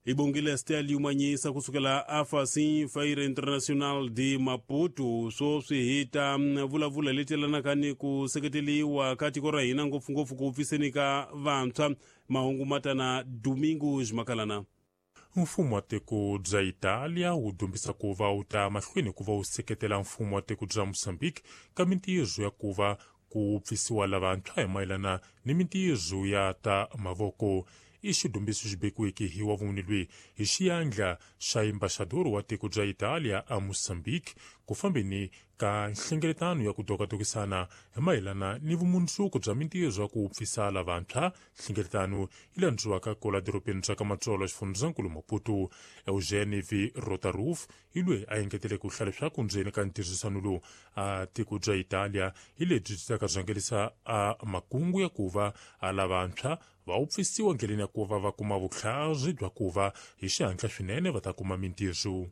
Hi bongile Stel Yumanyisa kusukela afasin Feira Internacional de Maputo. Swoswi hi ta vulavula leti yelanaka ni ku seketeriwa ka tiko ra hina, ngopfungopfu ku pfiseni ka vantshwa. Mahungu matana Domingos Makalana. Mfumo wa tiko bya Italia wu dumbisa ku va wu ta mahlweni ku va wu seketela mfumo wa tiko bya Mozambique ka mintirho ya ku va ku pfisiwa lavantshwa hi mayelana ni mintirho ya ta mavoko. I xidumbiso xi bekiweke hi wa vumune lweyi hi xiyandla xa embaxador wa tiko bya Italia a Mozambique ku fambeni ka nhlengeletano ya ku dokadokisana hi mayelana ni vumundzuku bya mintirho ya ku pfisa lavantshwa. Nhlengeletano yi landziwaka kola dorobeni bya ka Matsolo, xifundzankulu Maputo. Eugene V Rotaroof hi loyi a engetele ku hlaya leswaku ndzeni ka ntirhisano lowu a tiko bya Italia hi lebyi byi taka rhangelisa a makungu ya ku va a lavantshwa va wu pfisiwa ndleleni ya ku va va kuma vutlhari bya ku va hi xihatla swinene va ta kuma mintirho.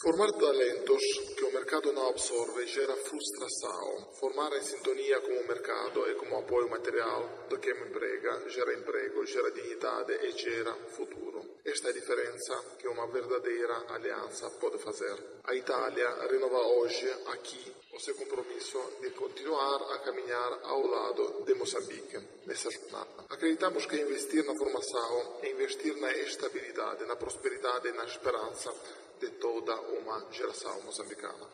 Formar talentos que o mercado não absorve gera frustração. Formar em sintonia com o mercado e com o apoio material do que emprega, gera emprego, gera dignidade e gera futuro. Esta é a diferença que uma verdadeira aliança pode fazer. A Itália renova hoje, aqui, o seu compromisso de continuar a caminhar ao lado de Moçambique nessa jornada. Acreditamos que investir na formação é investir na estabilidade, na prosperidade e na esperança de toda uma geração moçambicana.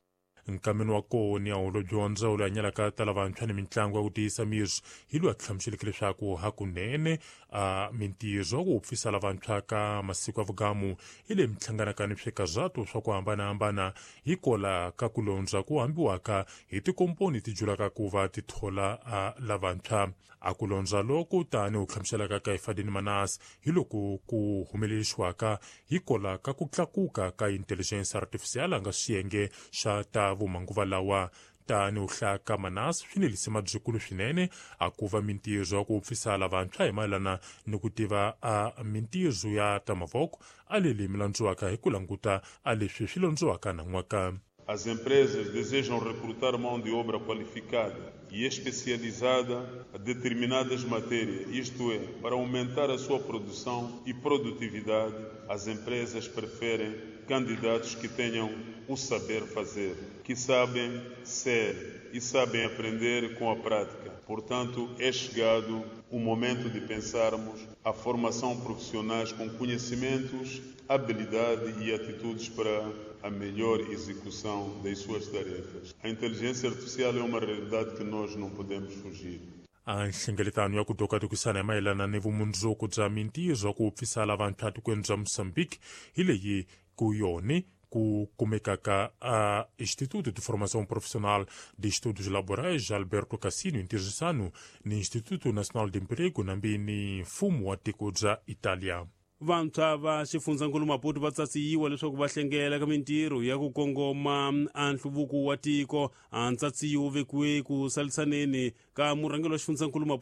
Nkameni wa kona holobye wa ndzawulo ya nyalaka ta lavantshwa ni mitlangu ya ku tiyisa miri hi loyi a hlamuseleke leswaku hakunene a mintirho ya ku pfisa lavantshwa ka masiku ya vugamu hi leyi mihlanganaka ni swikazato swa ku hambanahambana hi kola ka ku londza ku hambiwaka hi tikomponi ti julaka ku va ti thola a lavantshwa. A ku londza loko tani u hlamuselaka ka Ifadini Manas hi loko ku humelerisiwaka hi kola ka ku tlakuka ka intelligence artificial a nga xiyenge xa ta vumanguva lawa. Tani u hlaya ka Manas swi nelise mabyikulu swinene a ku va mintirho ya ku pfisa lavantshwa hi mayelana ni ku tiva a mintirho ya ta mavoko a leli mi landziwaka hi ku languta a leswi swi londziwaka nan'waka. As empresas desejam recrutar mão de obra qualificada e especializada a determinadas matérias, isto é, para aumentar a sua produção e produtividade, as empresas preferem candidatos que tenham o saber fazer, que sabem ser e sabem aprender com a prática. Portanto, é chegado o momento de pensarmos a formação profissionais com conhecimentos, habilidade e atitudes para a melhor execução das suas tarefas. A inteligência artificial é uma realidade que nós não podemos fugir. A nhlengeletano ya ku dokadokisana hi mayelana ni vumundzuku bya mintirho ya ku pfisa lavantshwa tikweni bya Mozambique hi leyi ku yoni ku kumekaka a Instituto de Formação Profissional de Estudos Laborais Alberto Cassino, ntirhisano ni Instituto Nacional de Emprego nambi ni mfumo wa tiko bya Italia. Vantshwa va xifundzankulu Maputo va tsatsiyiwa leswaku va hlengela ka mintirho ya ku kongoma a nhluvuko wa tiko. A ntsatsiyo wu vekiwe ku salisaneni ka murhangeri wa xifundzankulu Maputo.